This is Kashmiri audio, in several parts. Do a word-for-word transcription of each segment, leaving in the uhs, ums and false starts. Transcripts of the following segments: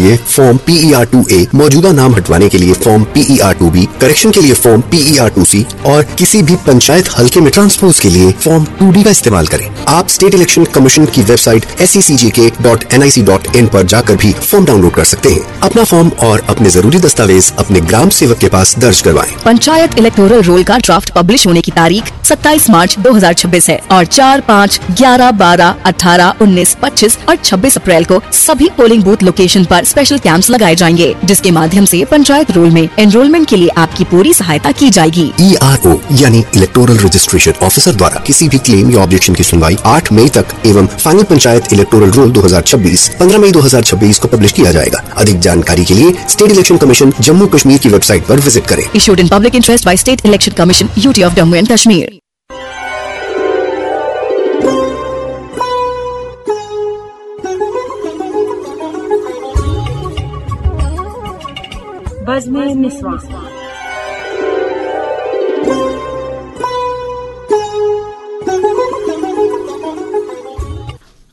लिए फॉर्म पीईआर टू ए, मौजूदा नाम हटवाने के लिए form P E R two B, correction के लिए फॉर्म पीईआर टू सी और किसी भी पंचायत हल्के में ट्रांसपोज के लिए फॉर्म टू डी का इस्तेमाल करें। आप स्टेट इलेक्शन कमीशन की website S E C J K dot N I C dot in पर जाकर भी फॉर्म डाउनलोड कर सकते हैं। अपना फॉर्म और अपने जरूरी दस्तावेज अपने ग्राम सेवक के पास दर्ज करवाएं। पंचायत इलेक्टोरल रोल का ड्राफ्ट पब्लिश होने की तारीख सत्ताईस मार्च दो हज़ार छब्बीस है और चार, पाँच, ग्यारह, बारह, अठारह, उन्नीस, पच्चीस और छब्बीस अप्रैल को सभी पोलिंग बूथ लोकेशन पर स्पेशल कैंप्स लगाए जाएंगे, जिसके माध्यम से पंचायत रोल में एनरोलमेंट के लिए आपकी पूरी सहायता की जाएगी। ईआरओ यानी इलेक्टोरल रजिस्ट्रेशन ऑफिसर द्वारा किसी भी क्लेम या ऑब्जेक्शन की सुनवाई आठ मई तक एवं फाइनल पंचायत इलेक्टोरल रोल दो हज़ार छब्बीस पन्द्रह मई दो हज़ार छब्बीस को पब्लिश किया जाएगा। अधिक जानकारी के लिए state election commission Jammu Kashmir की वेबसाइट पर विजिट करें। Issued in public interest by State Election Commission, U T of Jammu and Kashmir. بزمِ نسواں۔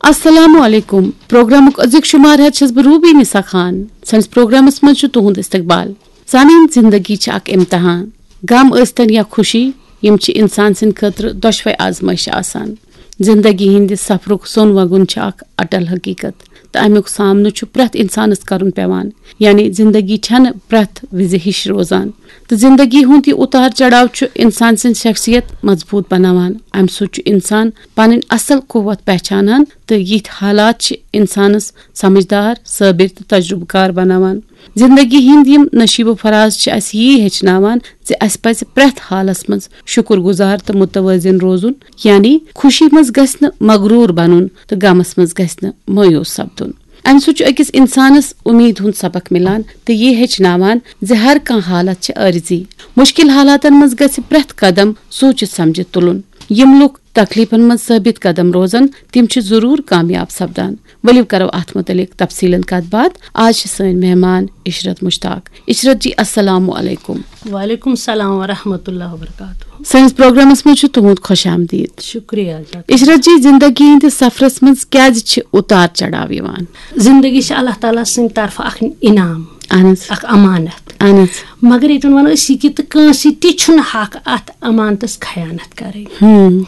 السلام علیکم۔ پروگرامُک أزیُک شمار ہٮ۪تھ چھَس بہٕ روبی نسا خان۔ سٲنِس پروگرامَس منٛز چھُ تُہُنٛد استقبال۔ سانٮ۪ن، زندگی چھِ اکھ امتحان۔ غم ٲسۍتن یا خوشی، یِم چھِ انسان سٕنٛدِ خٲطرٕ دۄشوے آزمٲیشہِ آسان۔ زندگی ہٕنٛدِ سفرُک سوٚن وگُن چھِ اکھ اٹل حقیقت، تہٕ امیُک سامنہٕ چھُ پرٛٮ۪تھ انسانس کرُن پٮ۪وان۔ یعنی زندگی چھنہٕ پرٛٮ۪تھ وِزِ ہِش روزان، تہٕ زندگی ہُنٛد یہِ اُتار چڑاو چھُ انسان سٕنٛز شخصیت مضبوط بناوان۔ امہِ سۭتۍ چھُ انسان پنٕنۍ اصل قوت پہچانان، تہٕ یِتھۍ حالات چھِ انسانس سمجھدار، صٲبر تہٕ تجربہٕ کار بناوان۔ زندگی ہٕنٛدۍ یِم نشیب و فراز چھِ اَسہِ یی ہیٚچھناوان زِ اَسہِ پَزِ پرٛٮ۪تھ حالس منٛز شُکر گُزار تہٕ متوازن روزُن، یعنی خوشی منٛز گژھِ نہٕ مغروٗر بنُن تہٕ غمس منٛز گژھِ نہٕ مایوس سپدُن۔ اَمہِ سۭتۍ چھُ أکِس انسانس اُمید ہُنٛد سبق مِلان تہٕ یہِ ہیٚچھناوان زِ ہر کانٛہہ حالت چھِ عٲرضی۔ مُشکِل حالاتن منٛز گژھِ پرٛٮ۪تھ قدم سوٗنٛچِتھ سمجھِتھ تُلُن۔ یِم لُکھ تکلیفن منٛز ثٲبت قدم روزن، تِم چھِ ضروٗر کامیاب سپدان۔ ؤلِو کرو اتھ متعلق تفصیلن کتھ باتھ۔ آز چھِ سٲنۍ مہمان عشرت مشتاق۔ عشرت جی، السلام علیکم۔ وعلیکم السلام ورحمۃ اللہ وبرکاتہ۔ سٲنِس پروگرامس منٛز چھُ تُہُنٛد خۄش آمدید۔ شُکریہ جزاک۔ عشرت جی، زندگی ہٕنٛدِس سفرس منٛز کیازِ چھِ اُتار چڑاو یِوان؟ زندگی چھِ اللہ تعالیٰ سٕنٛدِ طرفہٕ اکھ انعام، اہن حظ۔ اکھ امانت۔ اہن حظ۔ مگر ییٚتٮ۪ن ونو أسۍ یہِ کہِ تہٕ کٲنٛسہِ تہِ چھُنہٕ حق اتھ امانتس خیانت کرٕنۍ۔ ہم۔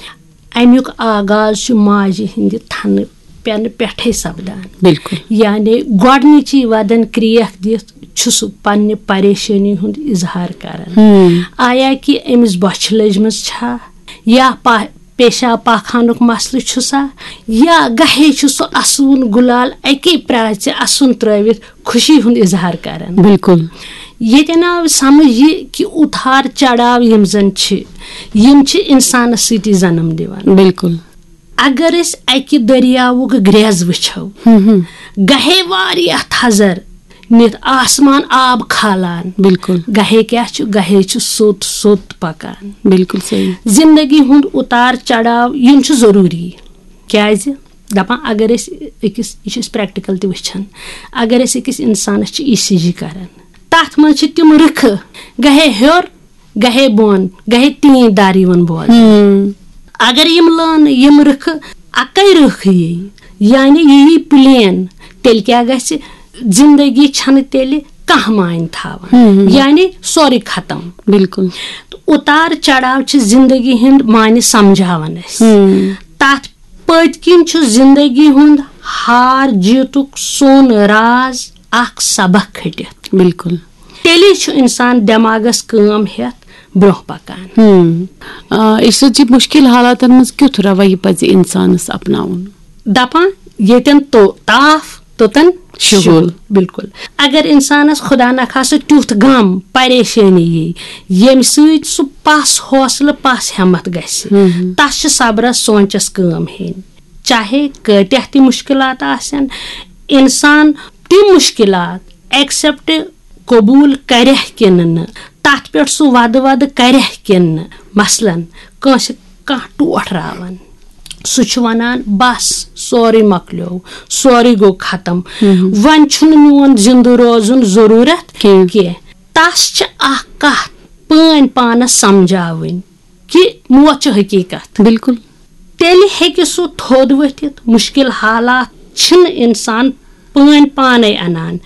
امیُک آغاز چھُ ماجہِ ہٕنٛدِ تھنہٕ پٮ۪نہٕ پٮ۪ٹھے سپدان۔ بالکل۔ یعنی گۄڈنِچی ودن کریکھ دِتھ چھُ سُہ پننہِ پریشٲنی ہُنٛد اظہار کران۔ ہم۔ آیا کہِ أمِس بۄچھِ لٔجمٕژ چھا، یا پا-، پیشاب پاخانُک مسلہٕ چھُ سا، یا گاہے چھُ سُہ اسوُن گُلال اکی پرٛاژِ اسُن ترٲوِتھ خوشی ہُنٛد اظہار کران۔ بالکل۔ ییٚتٮ۪ن آو سمجھ یہِ کہِ اُتار چڑاو یِم زن چھِ، یِم چھِ انسانس سۭتی جنم دِوان۔ بالکل۔ اگر أسۍ اکہِ دٔریاوُک گریز وٕچھو، ہم ہم۔ گاہے واریاہ تھزر نِتھ آسمان آب کھالان۔ بالکل۔ گاہے کیٛاہ چھُ؟ گاہے چھُ سوٚت سوٚت پکان۔ بالکل صحیح۔ زندگی ہُنٛد اُتار چڑاو یِم چھِ ضروٗری۔ کیٛازِ؟ دپان اگر أسۍ أکِس، یہِ چھِ أسۍ پریکٹیکل تہِ وٕچھان، اگر أسۍ أکِس انسانس چھِ ای سی جی کران، تتھ منٛز چھِ تِم رٕکھٕ، گاہے ہیوٚر، گاہے بۄن، گاہے تین دار یِوان بوزنہٕ۔ ہم۔ اگر یِم لٲنہٕ، یِم رٕکھٕ اکے رٕکھ یی، یعنی یہِ یی پلین، تیٚلہِ کیٛاہ گژھِ؟ زندگی چھنہٕ تیٚلہِ کانٛہہ معنی تھاوان۔ ہم۔ یعنی سورُے ختم۔ بالکل۔ تہٕ اُتار چڑاو چھِ زندگی ہُنٛد معنی سمجھاوان اَسہِ۔ ہم۔ تتھ پٔتۍ کِنۍ چھُ زندگی ہُنٛد ہار جیٖتُک سون راز اکھ سبق کھٔٹِتھ۔ بالکل۔ تیٚلے چھُ انسان دٮ۪ماغس کٲم ہٮ۪تھ برٛونٛہہ پکان۔ ہم۔ آ، عشرت جی، مُشکِل حالاتن منٛز کیُتھ رویہِ پزِ انسانس اپناوُن؟ دپان ییٚتٮ۪ن تو-، تاپھ توٚتن شُہُل۔ شُہُل۔ بالکل۔ اگر انسانس خدا نخواستہٕ تیُتھ غم، پریشٲنی یی، ییٚمہِ سۭتۍ سُہ پس حوصلہٕ، پس ہٮ۪متھ گژھِ، ہم۔ تس چھِ صبرس سونٛچس کٲم ہیٚنۍ۔ چاہے کۭتیاہ تہِ مُشکِلات آسن، انسان تِم مُشکِلات ایکسپٹ، قبوٗل کرٮ۪کھ کِنہٕ نہٕ، تتھ پٮ۪ٹھ سُہ ودٕ ودٕ کرٮ۪کھ کِنہٕ نہٕ۔ مثلاً کٲنٛسہِ کانٛہہ ٹوٹھ راوان، سُہ چھُ ونان، "بس، سورُے مۄکلیو، سورُے گوٚو ختم، ہم۔ وۄنۍ چھُنہٕ میون زندٕ روزُن ضروٗرت کینٛہہ۔ کینٛہہ۔" تس چھِ اکھ کتھ پٲنۍ پانس سمجھاوٕنۍ کہِ موت چھِ حقیٖقت۔ بالکل۔ تیٚلہِ ہیٚکہِ سُہ تھوٚد ؤتھِتھ۔ مُشکِل حالات چھِنہٕ اِنسان پٲنۍ پانَے اَنان،